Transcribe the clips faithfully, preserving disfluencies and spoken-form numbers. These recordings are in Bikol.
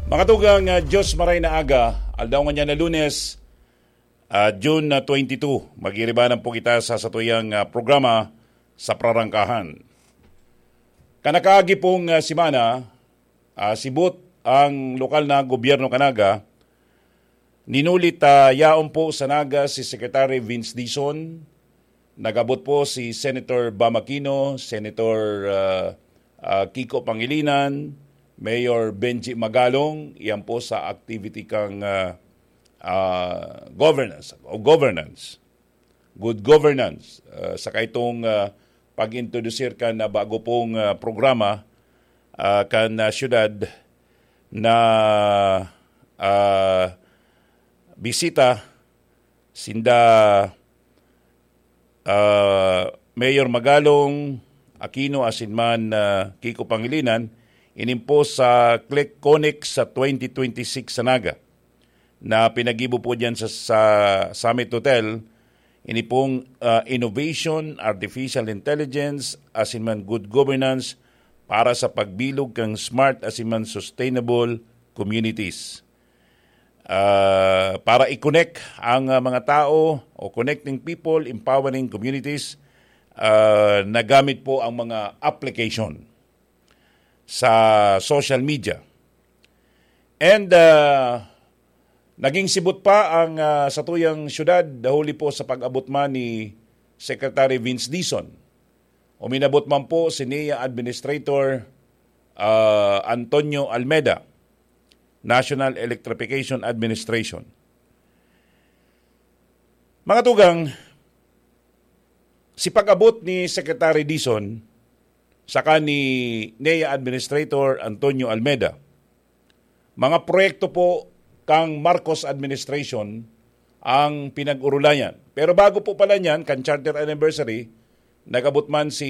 Mga tugang, ah, Diyos maray na aga, aldaw ngunyan na Lunes, ah, June, ah, twenty-two. Mag-iiribanan po kita sa satuyang, ah, programa sa Prarangkahan. Kanakaagi pong, ah, semana, ah, sibot ang lokal na gobyerno kan Naga. Ninulit, ah, yaon po sa Naga si Secretary Vince Dizon. Nag-abot po si Senator Bam Aquino, Senator, ah, ah, Kiko Pangilinan, Mayor Benji Magalong, iyan po sa activity kang, ah, ah, governance o governance, good governance, ah, saka itong, ah, pag-introdusir kan, ah, bago pong, ah, programa, ah, kan, ah, siyudad na, ah, bisita sinda, ah, Mayor Magalong, Aquino, asin man, ah, Kiko Pangilinan, inimpos sa Click Connect sa twenty twenty-six sa Naga, na pinagibo po diyan sa, sa Summit Hotel. Ini pong, ah, innovation, artificial intelligence, asin man good governance para sa pagbilog kan smart asin man sustainable communities. Ah, para i-connect ang, ah, mga tao o connecting people, empowering communities, ah, nagamit po ang mga application sa social media. And, ah, naging sibot pa ang, ah, satuyang syudad, dahuli po sa pag-abot man ni Secretary Vince Dizon. Uminabot man po si NEA Administrator, ah, Antonio Almeda, National Electrification Administration. Mga tugang, si pag-abot ni Secretary Dizon saka ni NEA Administrator Antonio Almeda, mga proyekto po kang Marcos Administration ang pinag-urulayan. Pero bago po pala niyan, kan Charter Anniversary, nag-abot man si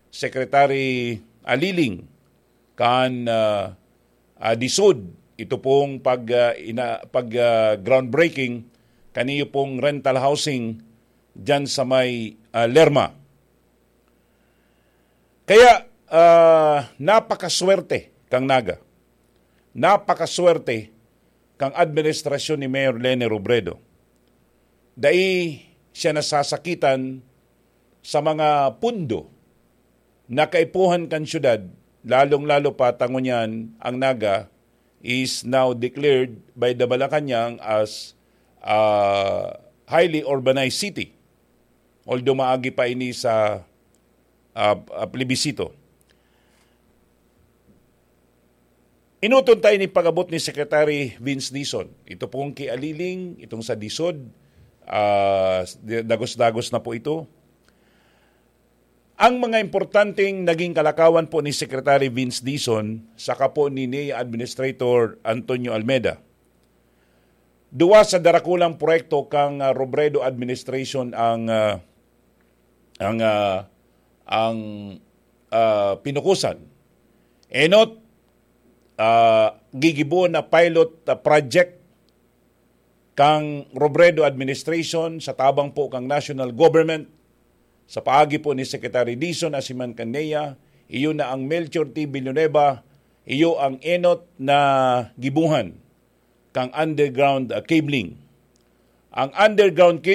Secretary Aliling kan, ah, ah, DISUD. Ito pong pag, ah, ina-, pag, ah, groundbreaking kaniyo pong rental housing diyan sa may, ah, Lerma. Kaya, ah, napakaswerte kang Naga. Napakaswerte kang administrasyon ni Mayor Leni Robredo. Dai siya nasasakitan sa mga pundo na kaipuhan kan syudad, lalong-lalo pa ta ngunyan ang Naga is now declared by the Malacañang as a highly urbanized city. Although maagi pa ini sa, ah, ah, plebisito. Enoton ta ini pag-abot ni Secretary Vince Dizon. Ito pong ki Aliling, itong sa DISUD, ah, dagos-dagos na po ito. Ang mga importanteng naging kalakawan po ni Secretary Vince Dizon saka po ni NEA Administrator Antonio Almeda. Duwa sa darakulang proyekto kang, ah, Robredo Administration ang, ah, ang, ah, ang, ah, pinukusan. Enot, ah, gigibo na pilot, ah, project kang Robredo Administration sa tabang po kang national government, sa paagi po ni Secretary Dizon asin man kan NEA, iyo na ang Melchor T. Villanueva, iyo ang enot na gibuhan kang underground, ah, cabling. Ang underground